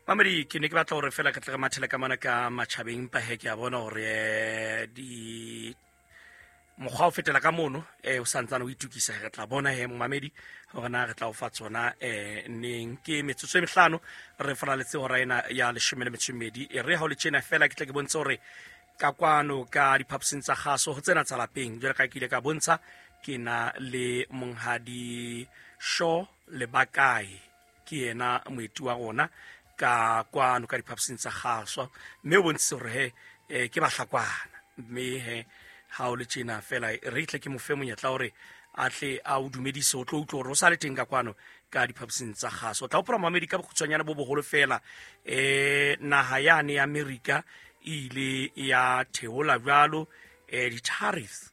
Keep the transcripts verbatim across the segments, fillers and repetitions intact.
Mamedi, ke ne ke batla hore fela ke tle re mathele ka mona ka matjhabeng, empa he ke a bona hore eh, di mokgwa o fetela ka mono eh o santsane o itukisa. Re tla bona he momamedi hore na re tla o fa tsona eh neng. Ke metsotso e mehlano re faraletse hora ena ya leshome le metso e mmedi. E re ha o le tjena fela ke tle ke bontshe hore ka kwano ka diphaposing tsa kgaso ho tsena tsa lapeng, jwalo ka ke ile ka bontsha, ke na le monghadi Shaw Lebakae, ke yena moeti wa rona ka kwano ka diphaposing tsa kgaso, mme o bontshitse hore he eh, ke bahlakwana. Mme he ha o le tjena fela re tle ke mo fe monyetla hore a tle a o dumedise, o tlo utlwa hore o sa le teng ka kwano ka diphaposing tsa kgaso. O tla hopola momamedi ka bokgutshwanyane bo boholo fela, eh naha yane ya Amerika e ile ya theola jwalo eh di-tariffs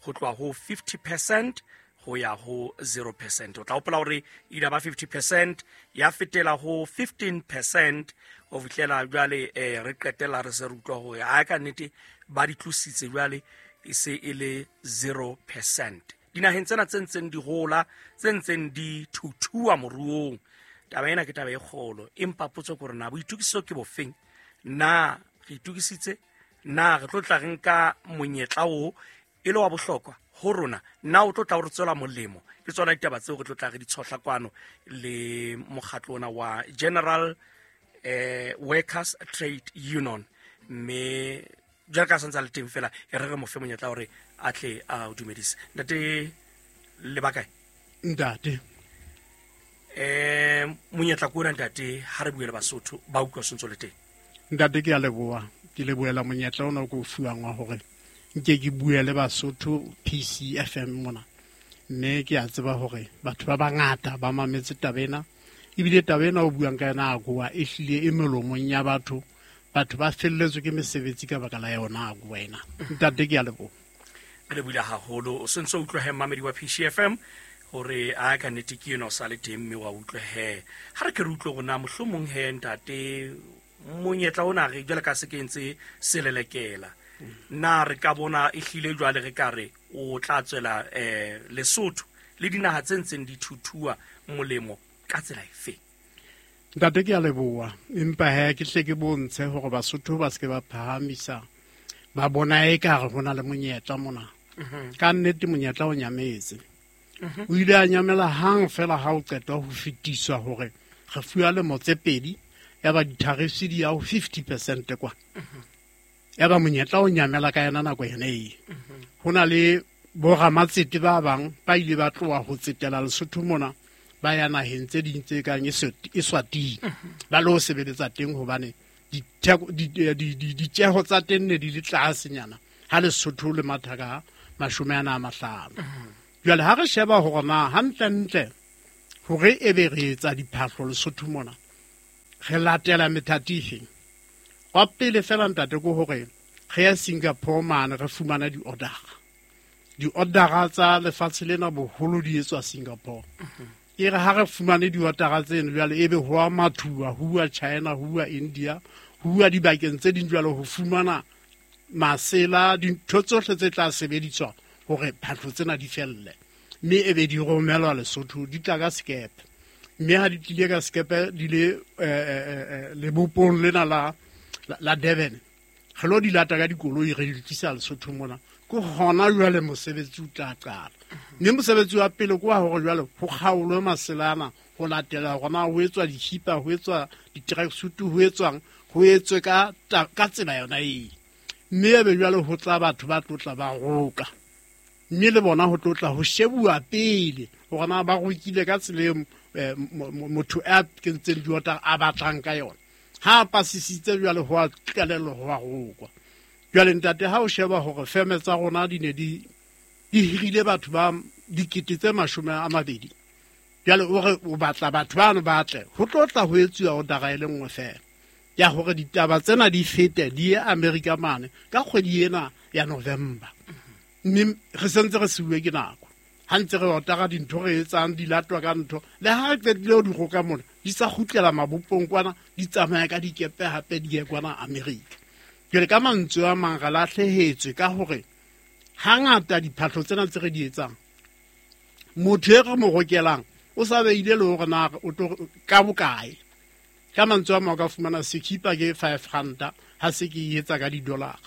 ho tloha ho fifty percent ho ya ho zero percent. O tla hopola hore e ile ba fifty percent ya fetela ho fifteen percent ho fihlela jwale eh re qetella re se re utlwa hore ha ka nnete ba di tlositse jwale e se e le zero percent. Dinaheng tsena tse ntseng di hola, tse ntseng di thuthua moruong, taba ena ke taba e kgolo. Empa potso ke hore na boitokiso ke bofeng? Na re itokisitse? Na re tlo tla re nka monyetla oo e le wa bohlokwa ho rona? Na o tlo tla o re tswela molemo? Ke tsona ditaba tseo re tlo tla re di tshohla kwano le mokgatlo ona wa General eh, Workers Trade Union. Mme jwalo ka santse a le teng fela, e re re mo fe monyetla hore a tle a o dumedise. Ntate Lebakae? Ntate. Eh, monyetla ke ona ntate, ha re bue le Basotho ba utlwa sentse le teng. Ntate, ke a leboha. Ke lebohela monyetla ona o ke o fuwang wa hore nke ke bue le Basotho P C F M mona. Mme ke a tseba hore batho ba bangata ba mametse taba ena. Ebile taba ena o buang ka yona AGOA e hlile e melomong ya batho. Batho ba felletswe ke mesebetsi ka baka la yona AGOA ena. Ntate, ke a leboha. Re lebohile haholo. O sentse o utlwe he mamedi wa P C F M hore a ka nnete ke ena o sa le teng mme wa utlwe he. Ha re ke re utlwe hore na mohlomong he ntate monyetla ona re jwale ka se ke ntse selelekela. Na re ka bona e hlile jwale re ka re o tla tswela, eh, Lesotho le dinaha tse ntseng di thuthua molemo ka tsela efe? Ntate, ke a leboha. Empa he ke hle ke bontshe hore Basotho ba se ke ba phahamisa, ba bona ekare ho na le monyetla mona. Mhm. Ka nnete monyetla o nyametse. Mhm. O ile a nyamela hang fela ha o qetwa ho fetiswa hore re fuwa lemo tse pedi, ya ba di-tariffs di ya ho fifty percent kwa. Mhm. Ya ba monyetla o nyamela ka yona nako yona e. Mhm. Ho na le boramatsete ba bang ba ile ba tloha ho tsetela Lesotho mona, ba ya naheng tse ding tse kang Eswat-, Eswatini. Mhm. Ba lo sebeletsa teng hobane ditheko, di, di, di, di, ditjeho tsa teng ne di le tlasenyana ha Lesotho le matha ka mashome ana a mahlano. Mhm. Jwale ha re sheba hore na hantlentle hore ebe re etsa diphahlo Lesotho mona, re latela methati efe? Wa pele fela ntate ke hore re ya Singapore mane re fumana di-order-a. Di-order-a tsa lefatshe lena boholo di etswa Singapore. Mhm. E re ha re fumane di-order-a tseno jwale ebe ho a mathuwa, ho uwa China, ho uwa India, ho uwa dibakeng tse ding jwale ho fumana masela, dintho tsohle tse tla sebediswa hore phahlo tsena di felle. Mme ebe di romelwa Lesotho, di tla ka sekepe. Mme ha di tlile ka sekepe di le, eh, eh, eh, lebopong lena la, la, la Durban, re lo di lata ka dikoloi re di tlisa Lesotho mona. Ke hona jwale mosebetsi o tla qala. Mme mosebetsi wa pele ke wa hore jwale ho kgaolwe masela ana ho latela hore na ho etswa dihipa, ho etswa di-tracksuit, ho etswang, ho etswe ka ta-, ka tsela yona eo. Mme ebe jwale ho tla batho ba tlo tla ba roka. Mme le bona ho tlo tla ho shebuwa pele hore na ba rokile ka tsela eo, eh, mo-, mo-, motho a kentseng diota a batlang ka yona. Ha a pasisitse jwale ho a qalellwa ho a rokwa. Jwale ntate, ha o sheba hore feme tsa rona di ne di, di hirile batho ba dikete tse mashome a mabedi, jwale o re o batla batho bano ba tle, ho tlo tla ho etsuwa order-a e le nngwe fela ya hore ditaba tsena di fete di ye Amerika mane ka kgwedi ena ya November. Mme re sentse re siuwe ke nako. Ha ntse re otara dintho re etsang di latwa ka ntho, le ha re qetile ho di roka mona, di sa kgutlela mabopong kwana, di tsamaya ka dikepe hape di ye kwana Amerika. Jwale ka mantswe a mang re lahlehetswe ka hore hangata diphahlo tsena tse re di etsang, motho e re mo rokelang o sa beile le hore na o tlo ka bokae. Ka mantswe a mang o ka fumana sekipa ke five ranta ha se ke e etsa ka di-dollar.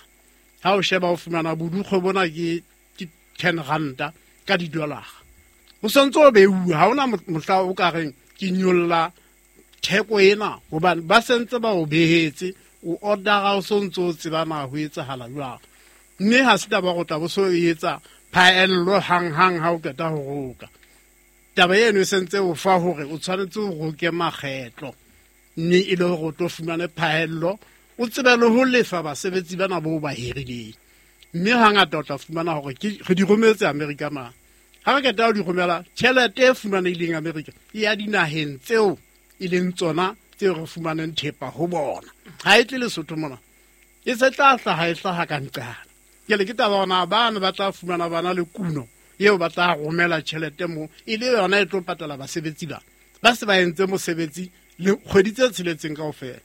Ha o sheba o fumana bodukgwe bona ke ten ranta ka di-dollar. O santse o beuwa, ha hona mohla o ka reng ke nyolla theko ena hobane ba sentse ba o behetse, o ordera o sontse o tseba na ho etsahala jwang. Mme ha se taba go tla bo so e etsa phaello hang-hang ha o qeta ho roka. Taba eno e sentse o fa hore o tshwanetse o roke makgetlo, mme e le hore o tlo fumane phaello, o tsebe le ho lefa basebetsi bana bo ba hirileng. Mme hangata o tla fumana hore ke re di rometse Amerika mane. Ha re qeta ho di romela, tjhelete e fumanehileng Amerika e ya dinaheng tseo e leng tsona tseo re fumaneng thepa ho bona. Ha e tle Lesotho mona, e se tla hlaha e hlaha ka nqane. Jwale ke taba hore na bana ba tla fumana bana le kuno eo ba tla romela tjhelete moo, e le yona e tlo patala basebetsi ba. Ba se ba entse mosebetsi le kgwedi tse tsheletseng kaofela.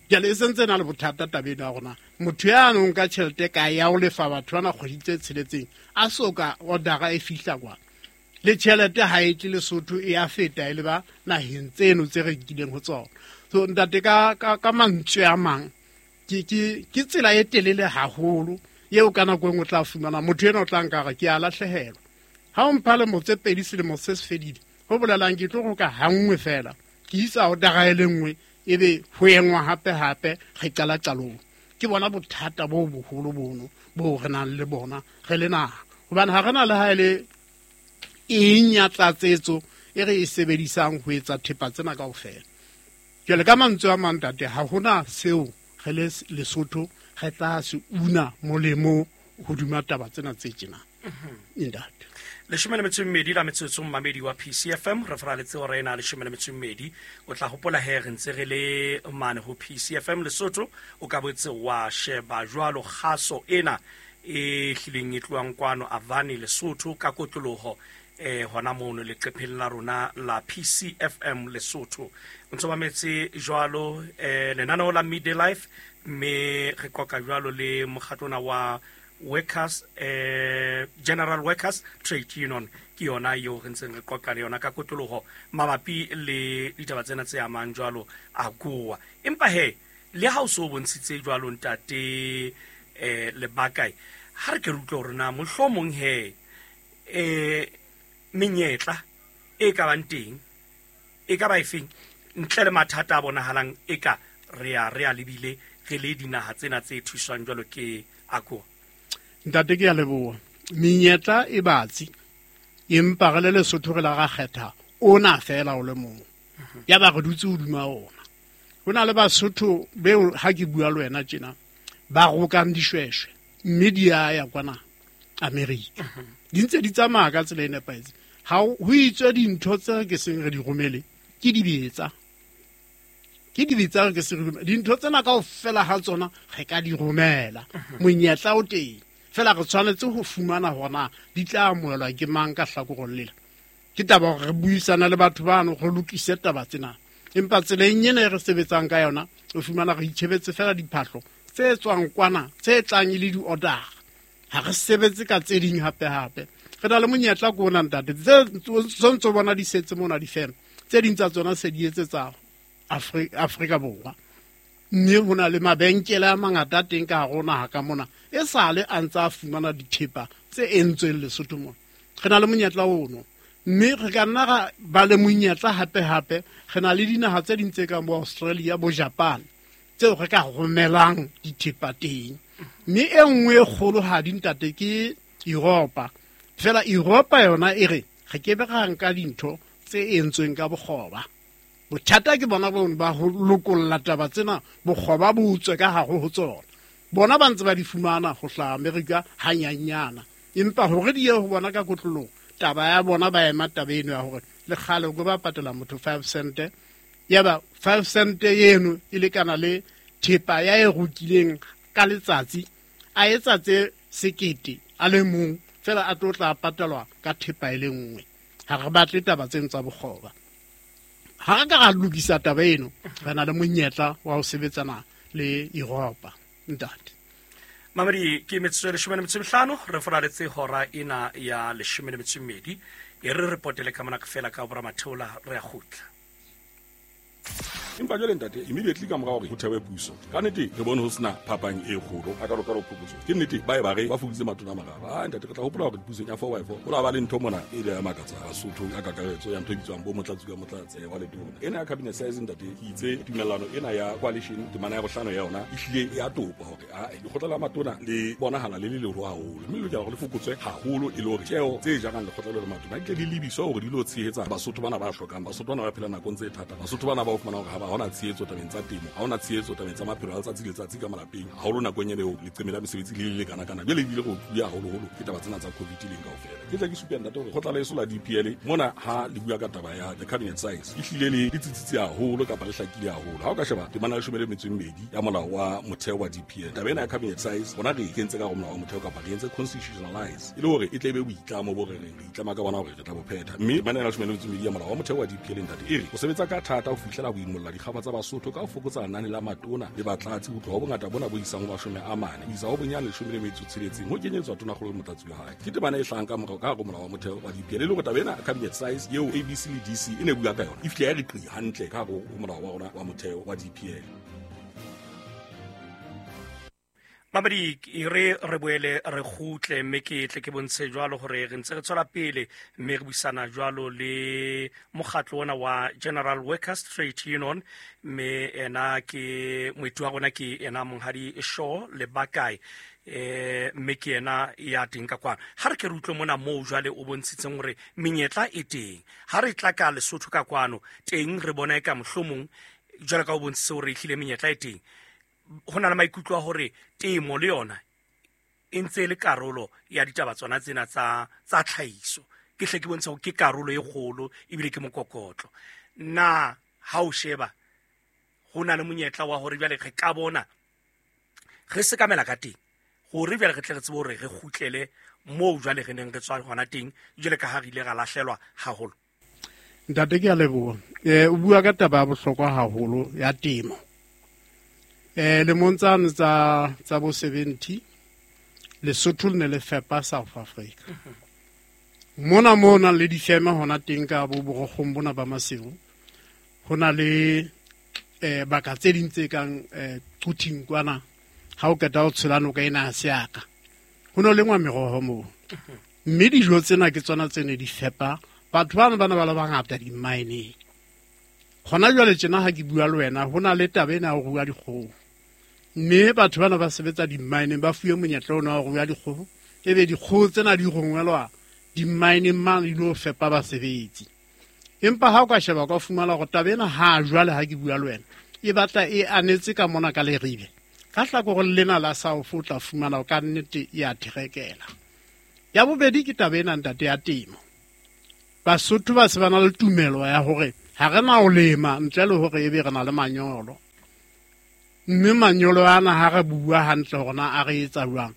Jwale e sentse na le bothata tabeng ya rona. Motho ya nong ka tjhelete ka ya ho lefa batho bana kgwedi tse tsheletseng, a so ka order-a e fihla kwa. Le tjhelete ha e tle Lesotho e a feta e le ba naheng tseno tse re nkileng ho tsona. So ntate ka ka, ka mantswe a mang ke ke ke tsela e telele haholo eo ka nako e nngwe o tla fumana motho ena o tla nka re ke a lahlehelwa. Ha o mpha lemo tse pedi selemo se se fedile, ho bolelang ke tlo roka hanngwe fela, ke isa order-a e le nngwe, ebe ho engwa hape hape re qala qalong. Ke bona bothata bo boholo bono bo re nang le bona re le naha. Hobane ha re na le ha e le eng ya tlatsetso e re e sebedisang ho etsa thepa tsena kaofela. Jwale ka mantswe a mang ntate, ha hona seo re le Lesotho re tla se una molemo hodima taba tsena tse tjena. Ntate. Leshome le metso e mmedi la metsotso mmamedi wa P C F M, re faraletse hora ena leshome le metso e mmedi. O tla hopola he re ntse re le mane ho P C F M Lesotho, o ka botse wa sheba jwalo kgaso ena e hlileng e tlohang kwano Avani Lesotho ka kotloloho eh hona mono leqepheng la rona la P C F M Lesotho. O ntso mametse jwalo eh lenaneo la Midday Life, mme re qoqa jwalo le mokgatlona wa Workers, eh, General Workers Trade Union, ke yona eo re ntseng re qoqa le yona ka kotloloho mabapi le ditaba tsena tse amang jwalo AGOA. Empa he le ha o so bontshitse jwalo ntate eh Lebakae, ha re ke re utlwe hore na mohlomong he eh menyetla e ka bang teng e ka ba efeng ntle le mathata a bonahalang e ka re a re a lebile re le dinaha tsena tse thuswang jwalo ke AGOA. Ntate ke a leboha. Menyetla e batsi, empa re le Lesotho re la ra kgetha ona fela o le mong. Ya ba re dutse hodima ona. Ho na le Basotho beo ha ke bua le wena tjena ba rokang dishweshwe mme di a ya kwana Amerika. Di ntse di tsamaya ka tsela e nepahetseng. Ha ho itswe dintho tse ke seng re di romele ke dibetsa. Ke dibetsa re ke se re dintho tsena kaofela ha tsona re ka di romela. Monyetla o teng. Fela re tshwanetse ho fumana hore di tla amohelwa ke mang ka hlakoreng lela. Ke taba hore re buisana le batho bano re lokise taba tsena. Empa tseleng ena e re sebetsang ka yona, o fumana re itjhebetse fela diphahlo tse tswang kwana, tse tlang e le di-order. Ha re sebetse ka tse ding hape hape. Re na le monyetla ko ona ntate, tse tsontso bona di setse mona difeme, tse ding tsa tsona se di etsetsa Afrika Borwa. Mme ho na le mabenkele a mangata a teng ka hare ho naha ka mona, e sale a ntse a fumana dithepa tse entsweng Lesotho mona. Re na le monyetla ono, mme re ka nna ra ba le monyetla hape hape. Re na le dinaha tse ding tse kang bo Australia, bo Japan, tseo re ka romelang dithepa teng. Mme e nngwe e kgolohadi ntate ke Europa. Fela Europa yona e re re ke be ra nka dintho tse entsweng ka bokgoba. Bothata ke bona bone ba ho lokolla taba tsena, bokgoba bo utswe ka hare ho tsona. Bona ba ntse ba di fumana ho hlaha Amerika hanyanyana, empa hore di ye ho bona ka kotlolong, taba ya bona ba ema taba eno ya hore le kgale ko ba patela motho five cent, ya ba five cent eno e lekana le thepa ya e rokileng ka letsatsi, a etsa tse sekete a le mong fela a tlo tla patelwa ka thepa e le nngwe. Ha re batle taba tseno tsa bokgoba. Ha re ka ra lokisa taba eno, re na le monyetla wa ho sebetsana le Europa ntate. Mamedi, ke metsotso e leshome le metso e mehlano re foraletse hora ena ya leshome le metso e mmedi. E re re potele ka mona fela ka bora matheola re a kgutla. Empa jwale ntate, immediately ka mora hore ho thewe puso, ka nnete re bone ho sena phapang e kgolo a ka ka phokotso. Ke nnete ba e ba re ba fokoditse matona a mararo. Ah ntate, re tla hopola hore pusong ya four by four ho la ba le ntho mona e ile ya makatsa Basotho ka kakaretso ya ntho e bitswang bo motlatsi ka motlatse wa letona. Ena ya cabinet size ntate, ke itse tumellano ena ya coalition temana ya bohlano ya yona e hlile ya topa hore a lekgotla la matona le bonahala le le leholo haholo, mme le lokela hore le fokotswe haholo e le hore tjeo tse jarang lekgotla le matona di tle di lebiswe hore di lo tshehetsa Basotho bana ba hlokang, Basotho bana ba phelang nakong tse thata, Basotho bana ba o fumana hore ha ba hona tshehetso tabeng tsa temo, ha hona tshehetso tabeng tsa maphelo a letsatsi le letsatsi ka malapeng, haholo nakong eo leqeme la mesebetsi le le lekana kana. Jwale ebile go bua haholoholo ke taba tsena tsa COVID leng kaofela. Ke tla ke supe ntate hore kgotla la eso la D P L mona ha le bua ka taba ya the cabinet size e hlile le le tsitsitse haholo kapa le hlakile haholo. Ha o ka sheba temana ya leshome le metso e mmedi ya molao wa motheo wa D P L, taba ena ya cabinet size bona re e kentse ka hare ho molao wa motheo kapa re entse constitutionalize e le hore e tle be boitlamo bo re reng re itlama ka bona hore re tla bo phetha. Mme temana ya leshome le metso e mmedi ya molao wa motheo wa D P L ntate e re o sebetsa ka thata ho fihlela ho imolla dikgaba tsa Basotho ka ho fokotsa lenane la matona le batlatsi ho tloha ho bongata bona bo isang ho mashome a mane ho isa ho bonyane leshome le metso tsheletseng ho kenyetswa tonakgolo le motlatsi wa hae. Ke temana e hlahang ka morao ka hare ho molao wa motheo wa D P L e le hore taba ena cabinet size eo A B C le D C e ne bua ka yona e fihle ya re qi hantle ka hare ho molao wa rona wa motheo wa D P L. Mamedi, re re boele re kgutle mme ke tle ke bontshe jwalo hore re ntse re tswela pele mme re buisana jwalo le mokgatlo ona wa General Workers Trade Union, mme ena ke moeti wa rona ke ena Monghadi Shaw Lebakae, eh mme ke ena ya teng ka kwana. Ha re ke re utlwe mona moo jwale o bontshitseng hore menyetla e teng. Ha re tla ka Lesotho ka kwano teng re bona e ka mohlomong jwale ka o bontshitse hore ehlile menyetla e teng. Ho na le maikutlo a hore temo le yona e ntse e le karolo ya ditaba tsona tsena tsa tsa tlhahiso. Ke hle ke bontsha hore ke karolo e kgolo ebile ke mokokotlo. Na ha o sheba ho na le monyetla wa hore jwale re ka bona re sekamela ka teng hore jwale re tle re tsebe hore re kgutlele moo jwale re neng re tswa hona teng jwale ka ha re ile ra lahlelwa haholo. Ntate, ke a leboha. Eh o bua ka taba ya bohlokwa haholo ya temo. Eh lemong tsane tsa tsa bo seventy Lesotho le ne le fepa South Africa. Mona mona le difeme hona teng ka bo borokgong bona ba Maseru. Ho na le eh baka tse ding tse kang eh Quthing kwana ha o qeta ho tshela noka ena ya Seaka. Ho no lengwa meroho moo. Mme dijo tsena ke tsona tse ne di fepa batho bana bana ba le bangata di-mine. Hona jwale tjena ha ke bua le wena ho na le taba ena ya ho rua dikgoho. Mme batho bana ba sebetsa di-mine ba fuwe monyetla ona wa ho rua dikgoho, ebe dikgoho tsena di rongwelwa di-mine mane di lo fepa basebetsi. Empa ha o ka sheba ka fumana hore taba ena ha jwale ha ke bua le wena e batla e anetse ka mona ka Leribe. Ka hlakoreng lena la South o tla fumana hore ka nnete e a therekela. Ya bobedi ke taba ena ntate ya temo. Basotho ba se ba na le tumelo ya hore ha re na ho lema ntle le hore ebe re na le manyolo. Mme manyolo ana ha re bua hantle hore na a re etsa jwang.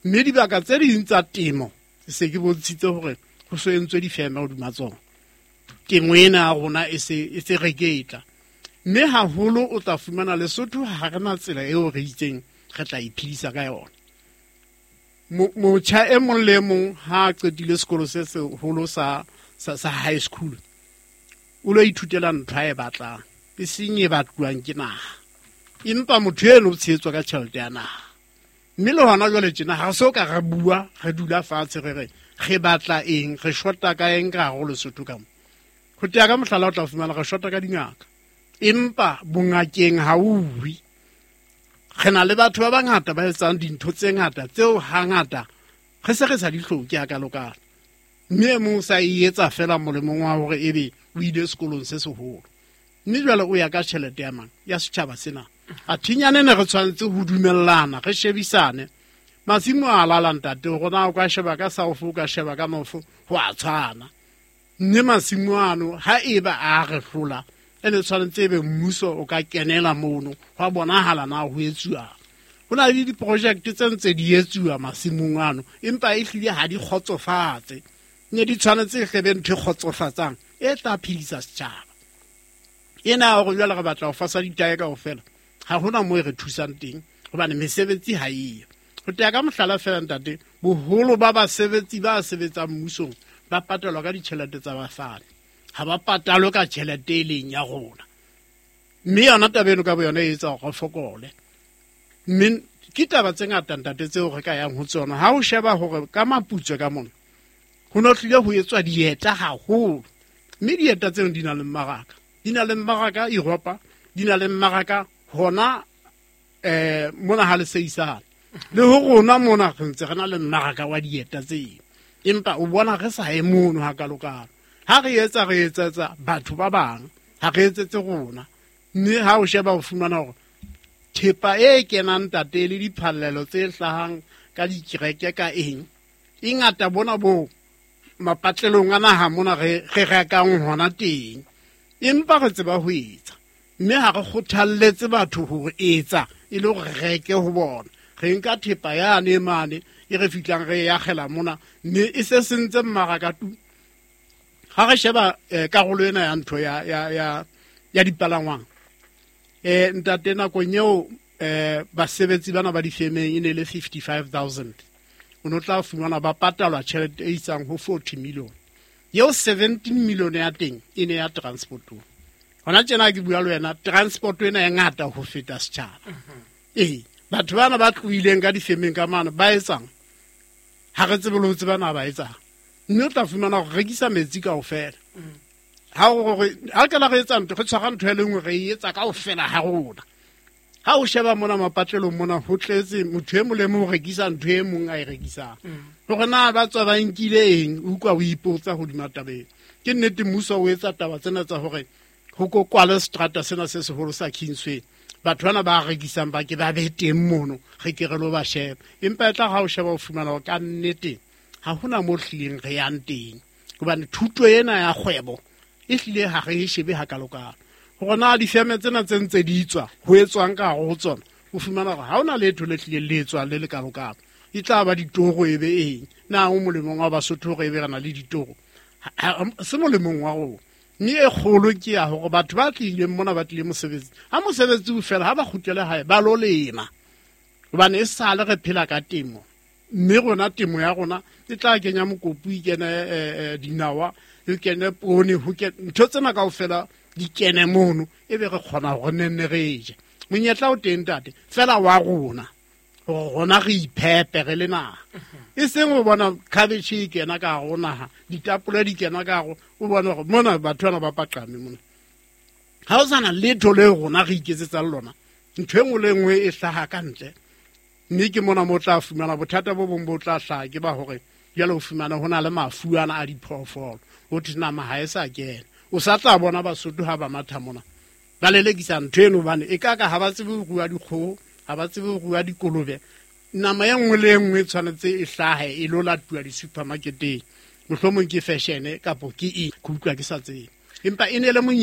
Mme dibaka tse ding tsa temo se ke bontshitse hore ho so entswe difeme hodima tsona. Temo ena ya rona e se e se reketla. Mme haholo o tla fumana Lesotho ha re na tsela eo re itseng re tla iphedisa ka yona. Motjha e mong le e mong ha a qetile sekolo se seholo sa sa sa high school o lo ithutela ntho a e batlang, e seng e batluwang ke naha. Empa motho eno o tshehetswa ka tjhelete ya naha. Mme le hona jwale tjena ha re so ka re bua, re dula fatshe re re re batla eng, re shota ka eng ka hare ho Lesotho ka mo. Ho tea ka mohlala o tla fumana re shota ka dingaka. Empa bongakeng ha o uwe. Re na le batho ba bangata ba etsang dintho tse ngata tseo hangata re se re sa di hloke hakalokalo. Mme e mong sa e etsa fela molemong wa hore ebe o ile sekolong se seholo. Mme jwale o ya ka tjhelete ya mang ya setjhaba sena. A thinyane ne re tshwanetse ho dumellana, re shebisane. Masimo a lala ntate, hore na o ka sheba ka South, o ka sheba ka North, ho a tshwana. Mme masimo ano ha eba a re hlola, ene tshwanetse ebe mmuso o ka kenela mono, hwa bonahala na ho etsuwa. Ho na le diproject tse ntse di etsuwa masimong ano, empa e hlile ha di kgotsofatse. Ne di tshwanetse e hlebe ntho e kgotsofatsang e tla phedisa setjhaba. Ena hore jwale re batla ho fasa ditae kaofela, ha hona moo e re thusang teng hobane mesebetsi ha eyo. Ho tea ka mohlala fela ntate, boholo ba basebetsi ba sebetsang mmusong ba patalwa ka ditjhelete tsa bafani. Ha ba patalwe ka tjhelete e leng ya rona. Mme yona taba eno ka bo yona e etsa hore re fokole. Mme ke taba tse ngata ntate tseo re ka yang ho tsona. Ha o sheba hore ka Maputswe ka mona ho no tlile ho etswa dieta haholo. Mme dieta tseno di na le mmaraka. Di na le mmaraka Europa, di na le mmaraka hona eh mona ha le seisana. Le ho rona mona re ntse re na le mmaraka wa dieta tseo. Empa o bona re sa ye mono hakalokalo. Ha re etsa re etsetsa batho ba bang, ha re etsetse rona. Mme ha o sheba o fumana hore thepa e kenang ntate le diphallelo tse hlahang ka dikereke ka eng, e ngata bona bo mapatlelong a naha mona re re rekang hona teng. Empa re tseba ho etsa. Mme ha re kgothalletse batho ho etsa e le hore re reke ho bona. Re nka thepa yane mane e re fihlang re e akgela mona, mme e se sentse mmaraka tu. Ha re sheba eh, karolo ena ya ntho ya ya ya ya dipalangwang. Eh ntate nakong eo eh basebetsi bana ba difemeng e ne le fifty-five thousand. O no tla fumana ba patalwa tjhelete e isang ho forty million. Eo seventeen million ya teng e ne ya transport. Hona tjena ke bua le wena, transport ena e ngata ho feta setjhaba. Ee, batho bana ba tlohileng ka difemeng ka mane ba etsang? Ha re tsebe le ho tseba na ba etsang. Mme o tla fumana hore rekisa metsi kaofela. Ha o re ha ke la re etsa ntho, re tshwara ntho e le nngwe re e etsa kaofela ha rona. Ha o sheba mona mapatlelong mona ho tletse motho e mong le mong o rekisa ntho e mong a e rekisang. Hore na ba tswa ba nkile eng, o utlwa o ipotsa hodima taba ena. Ke nnete mmuso o etsa taba tsena tsa hore ho ko kwale seterata sena se seholo sa Kingsway. Batho bana ba rekisang ba ke ba be teng mono, re ke re lo ba sheba. Empa e tla ha o sheba o fumana hore ka nnete ha hona mo hlileng re yang teng. Hobane thuto ena ya kgwebo e hlile ha re e shebe hakalokalo. Hore na difeme tsena tse ntse di tswa, ho etswang ka hare ho tsona, o fumana hore ha hona letho le hlileng le etswang le lekalokalo. E tla ba ditoro e be eng? Na ho molemong wa Basotho hore e be re na le ditoro? Se molemong wa rona. Mme e kgolo ke ya hore batho ba tlileng mona ba tlile mosebetsi. Ha mosebetsi o fela, ha ba kgutlele hae, ba lo lema. Hobane e sale re phela ka temo. Mme rona temo ya rona e tla kenya mokopu, e kene, eh, eh, dinawa, e kene poone, ho kene ntho tsena kaofela di kene mono, e be re kgona hore ne nne re je. Monyetla o teng ntate, fela wa rona, hore rona re iphepe re le naha. E seng o bona cabbage e kena ka hare ho naha, ditapole di kena ka hare, o bona hore mona batho bana ba paqame mona. Ha o sana letho le rona re iketsetsang lona, ntho e nngwe le e nngwe e hlaha ka ntle. Mme ke mona mo tla fumana bothata bo bong bo tla hlaha ke ba hore jwale o fumana ho na le mafu ana a diphoofolo, ho thwe nama ha e sa kena. O sa tla bona Basotho ha ba matha mona, ba lelekisa ntho eno hobane e ka ka ha ba tsebe ho rua dikgoho, ha ba tsebe ho rua dikolobe. Nama e nngwe le e nngwe e tshwanetse e hlahe e lo latuwa di-supermarketeng. Mohlomong ke fashion kapo ke eng, ke utlwa ke sa tsebe. Empa e ne le monyetla